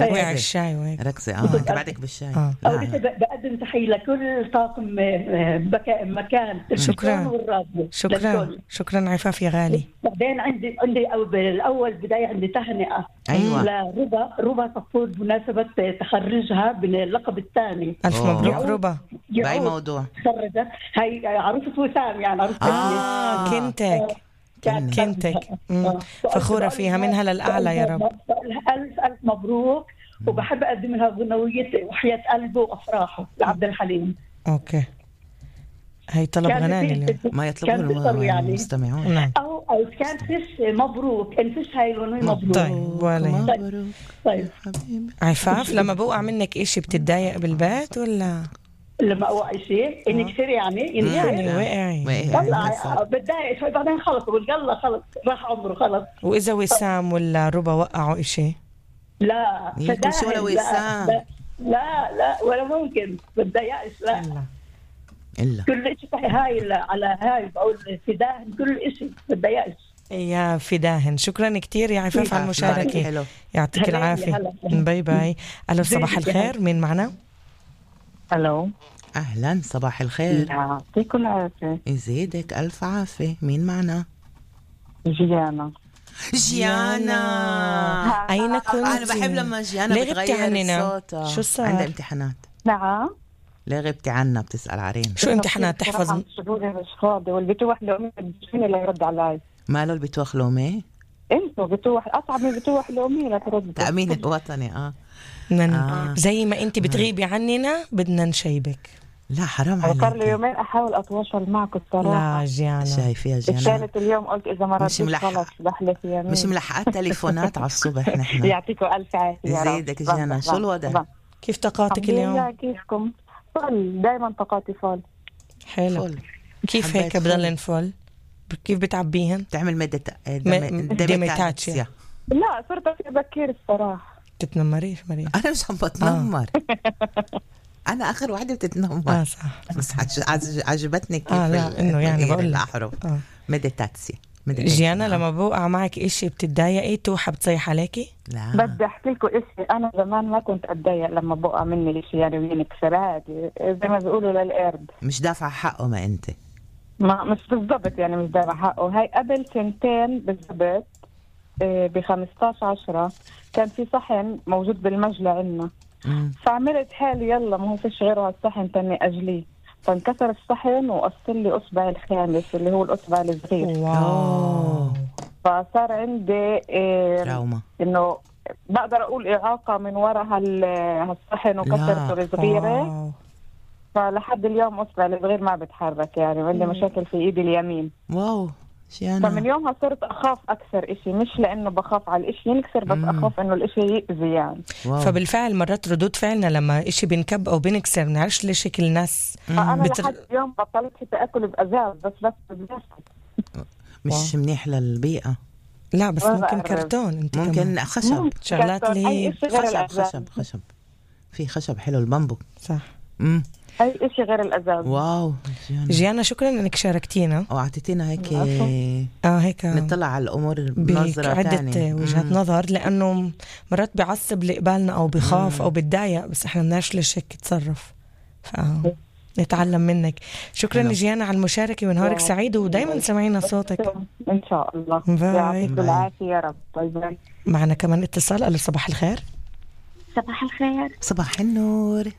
وقع الشاي وهيك ركزي انت بعدك بالشاي. أول شيء بقدم تحية لكل طاقم مكان شكرا والراديو. شكرا عفاف يا غالي. بعدين عندي بالأول بداية عندي تهنئة لربا صفور بمناسبة تخرجها باللقب الثاني. ألف مبروك ربا. بأي موضوع؟ تخرجت هاي عروسة وسام، يعني عروسة كنتك فخورة فيها، منها للأعلى يا رب. ألف مبروك. وبحب أقدم لها غنوية وحياة قلبه وأفراحه لعبد الحليم. أوكي، هي طلب غناني اليوم ما يطلبه المستمعون. نعم. أو كان فيش مبروك، انفش هاي الغنوية مبروك. طيب عفاف، لما بوقع منك إشي بتتضايق بالبيت ولا؟ لما أوقع شيء ينكسر يعني وقعي بتضايق شوي، بعدين خلص بقول يلا خلص راح عمره خلص. وإذا وسام ولا ربا وقعوا إشي؟ لا ولا وسام لا ولا ممكن بتضايقش. لا إلا كل شيء هاي على هاي بقول فداهن كل شيء بتضايقش يا فداهن. شكرا كتير يا عفاف على المشاركة، يعطيك العافية. باي باي. ألو صباح الخير، مين معنا؟ ألو أهلا صباح الخير. يعطيكم العافية. يزيدك ألف عافية. مين معنا؟ جيانا. أين كنت؟ أنا بحب لما جيانا بتغير صوتها. شو صار؟ عندها امتحانات. نعم. ليه غبتي عنا؟ بتسأل عرين. شو امتحانات تحفظ؟ مش فاضي والبتوح لومي اللي يرد علي. ماله البتوح لومي؟ انتو بتوح أصعب من بتوح لومي لا ترد. تأمين الوطني. زي ما انت بتغيبي عننا بدنا نشيبك. لا حرام عليك. صار لي يومين احاول اتواصل معك الصراحه. لا جيانا شايفه يا جيانا الثالث اليوم قلت اذا ما رديت خلص بحلف يمين. مش ملحقات تليفونات على الصبح نحن. يعطيكم الف عافيه يا رب. يزيدك جيانا. شو الوضع؟ كيف طاقاتك اليوم؟ كيفكم؟ فل دائما طاقاتي فل. حلو. كيف هيك بضلن فل؟ كيف بتعبيهن؟ بتعمل مديتاتشيا؟ لا صرت بكير الصراحه. تتنمريش مريم؟ انا مش عم بتنمر. انا اخر وحده بتتنمر. صح. بس عجبتني كيف لا انه يعني بقول الاحرف. مديتاتسيا. جيانا لما بوقع معك إشي بتتضايقي توحى بتصيح عليكي؟ لا بدي احكي لكم إشي. انا زمان ما كنت اتضايق لما بوقع مني إشي يعني وينكسر عادي زي ما بيقولوا للقرد. مش دافع حقه ما انت؟ ما مش بالضبط يعني مش دافع حقه. هاي قبل سنتين بالضبط ب15/10 كان في صحن موجود بالمجلة عنا. فعملت حالي يلا ما هو فيش غيره هالصحن تاني أجليه، فانكسر الصحن وقصر لي أصبع الخامس اللي هو الأصبع الصغير. واو. فصار عندي تراوما، إنه بقدر أقول إعاقة من وراء هالصحن وكسرته الصغيرة. فلحد اليوم أصبع الصغير ما بتحرك يعني وعندي مشاكل في إيدي اليمين. واو. فمن يومها صرت أخاف أكثر إشي، مش لأنه بخاف على الإشي ينكسر بس أخاف إنه الإشي يأذي يعني. فبالفعل مرات ردود فعلنا لما إشي بنكب أو بنكسر بنعرفش ليش هيك الناس. أنا لحد اليوم بطلت حتى أكل بأزاز بس مش منيح للبيئة. لا بس ممكن كرتون انت ممكن كمان. خشب شغلات اللي هي خشب في خشب حلو البامبو. صح. أي إشي غير الأزاز. واو جيانا شكرا إنك شاركتينا وأعطيتينا هيك هيك نطلع على الأمور بنظرة تانية، عدة وجهات نظر، لأنه مرات بيعصب لقبالنا أو بخاف أو بتضايق بس إحنا بنعرفش ليش هيك تصرف. نتعلم منك. شكرا جيانا على المشاركة ونهارك سعيد ودايما سمعينا صوتك إن شاء الله. يعطيك العافية يا رب. باي باي. معنا كمان اتصال. ألو صباح الخير. صباح الخير. صباح النور.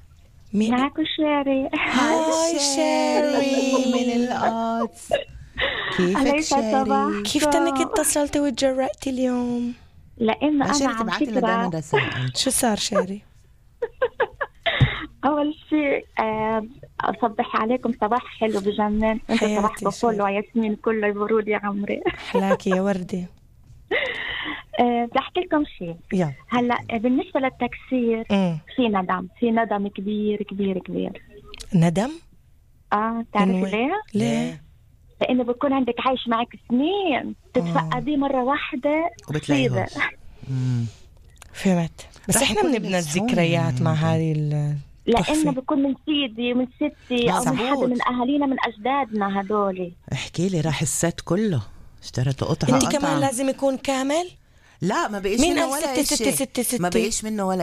معكو شيري. هاي شيري من القدس. كيفك شيري؟ كيف تنك اتصلتي وتجرأتي اليوم؟ لأنه أنا عم فكرة. شو صار شيري؟ أول شيء أصبح عليكم صباح حلو بجنن. أنت صباحكم كله وياسمين كله يبرود يا عمري. حلاكي يا وردي. بدي أحكي لكم شيء. هلا بالنسبة للتكسير في ندم كبير كبير كبير. ندم؟ تعرفي ليه؟ ليه؟ لأنه بيكون عندك عايش معك سنين تتفقدي مرة واحدة وبتلاقيها. فهمت. بس إحنا بنبنى الذكريات مع هذه لأنه بيكون من سيدي ومن ستي أو من حدا من أهالينا من أجدادنا هدول. احكي لي راح الست كله اشتريته قطعة. انت كمان لازم يكون كامل؟ لا ما بقيش منه ولا شيء. ما بقيش منه ولا